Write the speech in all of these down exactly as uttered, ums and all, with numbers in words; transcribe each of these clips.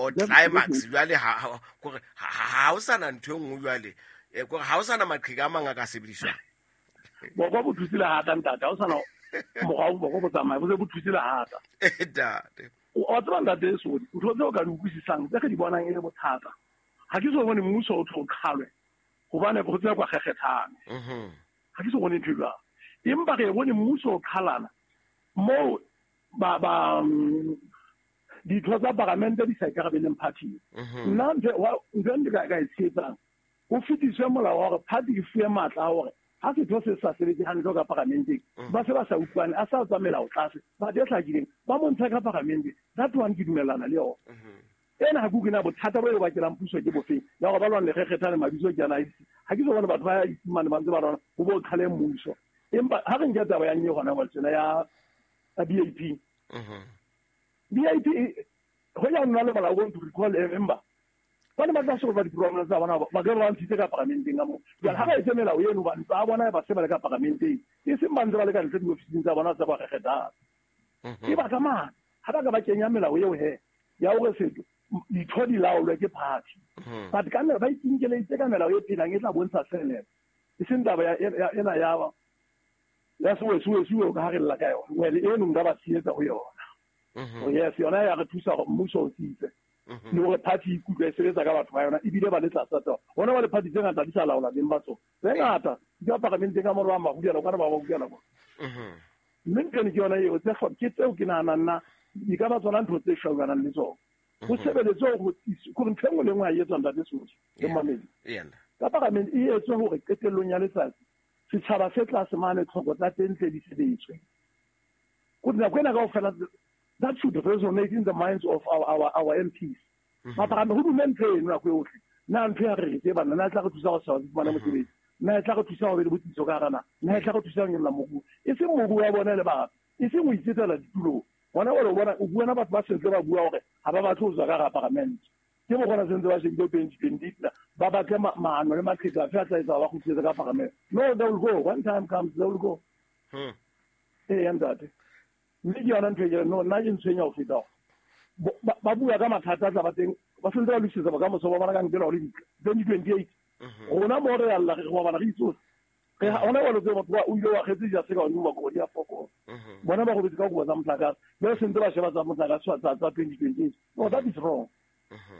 Or climax jwale ha kore ha o sana ntho e nngwe jwale e kore ha o sana maqheka a mang a ka sebediswang. Boko bo thusile hata ntate, ha o sana morao boko bo tsamaya bo se bo thusile hata. Ntate. O tseba ntate so ntho tseo ka di utlwisisang tse re di bonang e le bothata. Ha ke so bone mmuso o tlo qhalwe hobane go tsaya kwa kgekgethane. Mhm. Ha ke so bone ntho jwalo. Empa re bone mmuso o qhalana mo ba ba ditho tsa paramente di sa ikarabeleng party. Nna ntho ntho ndi ka ka e tshepang ho fetiswe molao wa hore party e fuwe matla a hore ha setho se sa sebetse hantle ka paramenteng ba se ba sa utlwane a sa tswa melao tlase ba di hlakileng ba montsha ka paramente. That one ke dumellana le yona. Ena ha ke na bothata bo e bakelang puso ke bofeng ya hore ba lwane kgekgethane mabitso ke ana ha ke so bone batho ba isimane ba ntse ba lwana ho bo qhale mmuso. Empa ha re nke taba ya nnye hona wa tsena ya B A P. B A P ho ya nna le molao o to recall a member. Ba ne ba tla solva di-problem tsa bona ba ke ba ntshitse ka paramenteng ka moo. Jwale ha ba etse melao eno ba ba bona ba se ba le ka paramenteng e seng ba ntse ba le ka ntle diofising tsa bona tsa ba kgekgethana. E batla mang ha ba ka ba kenya melao eo he ya hore setho ditho di laolwe ke party. But ka nna ba ikinkeletse ka melao e phelang e tla bontsha senene e seng taba ya ena ya ya sewe sewe sewe ka ha re lla ka yona. Well eno nka ba tshehetsa ho yona. Oh yes, yona ya re thusa hore mmuso o tsitse le hore party e ikutlwe e sebetsa ka batho ba yona ebile ba le tlasa tsona. Hona ba le party tse ngata di sa laola beng ba tsona tse ngata di ka paramenteng ka mora wa mahudiana kana ba ba hudiana bona. Mme ntho ke yona eo tse ke tseo ke nahanang nna di ka ba tsona ntho tse shaukanang le tsona. Ho sebeletswe hore hore ntho e nngwe le nngwe ha e etswa ntate Sotho le mamedi. Ka paramente e etswe hore qetellong ya letsatsi setjhaba se tlase mane tlhoko tsa teng tle di sebetswe. Go nako ena kaofela that should resonate in the minds of our our our M Ps. Mapagame ho dume ntho eno nako yohle. Na ntho ya re re bana na tla re thusa go sa fumana mosebetsi. Na tla re thusa go be le botsitso ka hara na. Na tla re thusa ho nyolla moruo. E seng moruo wa bona le ba. E seng ho itsetela ditulong. Bona o bona o bua na batho ba sentse ba bua hore ha ba batle ho tswa ka hara paramente. Ke mo gona sentse ba shebile twenty twenty ba batle maano le maqheka a tla etsa ba kgutlisetse ka paramente. No, they will go. One time comes, they will go. Hmm. Eh, ntate. Mme ke yona ntho e ke no nna ke ntshwenya ho feta ba bua ka mathata a tla ba teng ba sentse ba lokisetsa bokamoso ba bona ka nkela hore twenty twenty-eight rona mo re alla re go bana re itsose re hona wa lotse batho ba o ile wa kgetse ja se ka one ba go di a foko bona ba go betsa ka go tsa motlakase ba sentse ba sheba tsa motlakase tsa tsa twenty twenty-eight. No, that is wrong.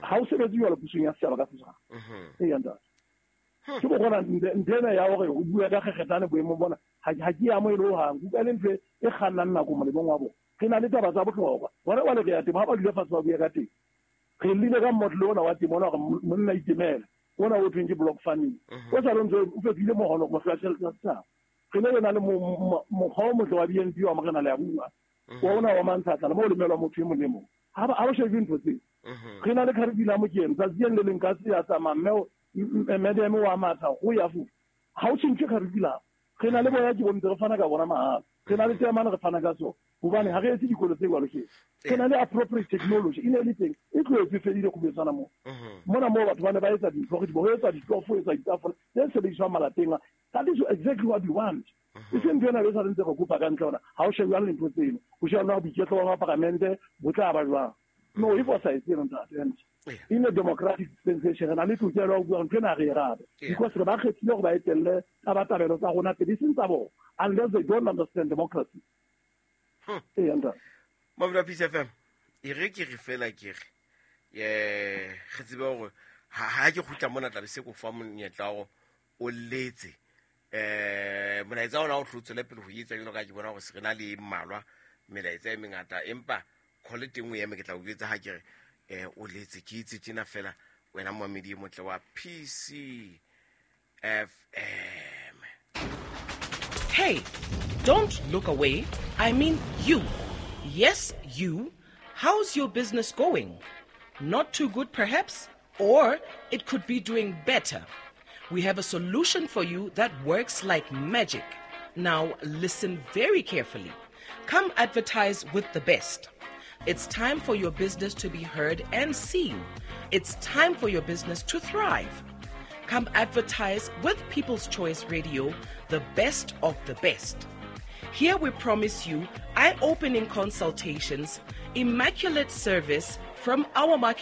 Ha o sebetse jwalo pusong ya setjhaba ka setjhaba. Ee ntate. Ke bo gona nthena ya hore o bua ka kgekgethane boemong bona ha ke ya mo e le ho hang kuka le ntho e kgannang nako molemong wa bona. Re na le taba tsa bohlokwa bona ba le re ya temo ha ba dule fatshe ba bua ka teng. Re llile ka modlo ona wa temo ona hore monna itemela ona o thweng ke block farming o sa le ntse o fetohile mohono go fela tjhelete ya setjhaba. Re ne re na le mokgwa o motle wa B N P wa morena le ya bua wa ona wa mantshatla mo o lemelwa motho e mong le mong ha ba ha o shebe ntho tseo. Re na le curriculum ke eno tsatsi le leng ka se ya tsamaya mme madam wa matha go ya fu ha o tshintse curriculum. Re na le boya ke bontse re fana ka bona mahala. Re na le tse re fana ka tsona hobane ha re etse dikolo tse jwalo ke. Re na le appropriate technology e ne le teng e tlohetse fedile go betsana mo. Mona moo batho ba ne ba etsa dintho re di bo etsa ditofo etsa ditafole tse sebediswang malapeng. That is exactly what we want. E seng ntho ena e sa ntse re kopa ka ntle hona ha o shebe jwang lintho tseno o sheba na boiketlo ba paramente bo tla ba jwang. No, if o sa etse ntate in a democratic dispensation re na le tokelo ya ho bua ntho ena re e rate because re ba kgethile hore ba etelle tabatabelo tsa rona pele seng tsa bona unless they don't understand democracy. Ee ntate. Mabula Peace F M e re ke re fela ke re eh re tsebe hore ha ke kgutla mona tla be se ko fa monyetla hore o letse eh molaetsa ona o tlotsele pele ho etsa jalo ka ke bona hore se re na le mmalwa melaetsa e mengata empa call teng o eme ke tla o jwetsa ha ke re eh o letse ke itse tjena fela wena momedi e motle wa P C F M. Hey, don't look away. I mean you. Yes, you. How's your business going? Not too good perhaps, or it could be doing better. We have a solution for you that works like magic. Now listen very carefully. Come advertise with the best. It's time for your business to be heard and seen. It's time for your business to thrive. Come advertise with People's Choice Radio, the best of the best. Here we promise you eye-opening consultations, immaculate service from our marketing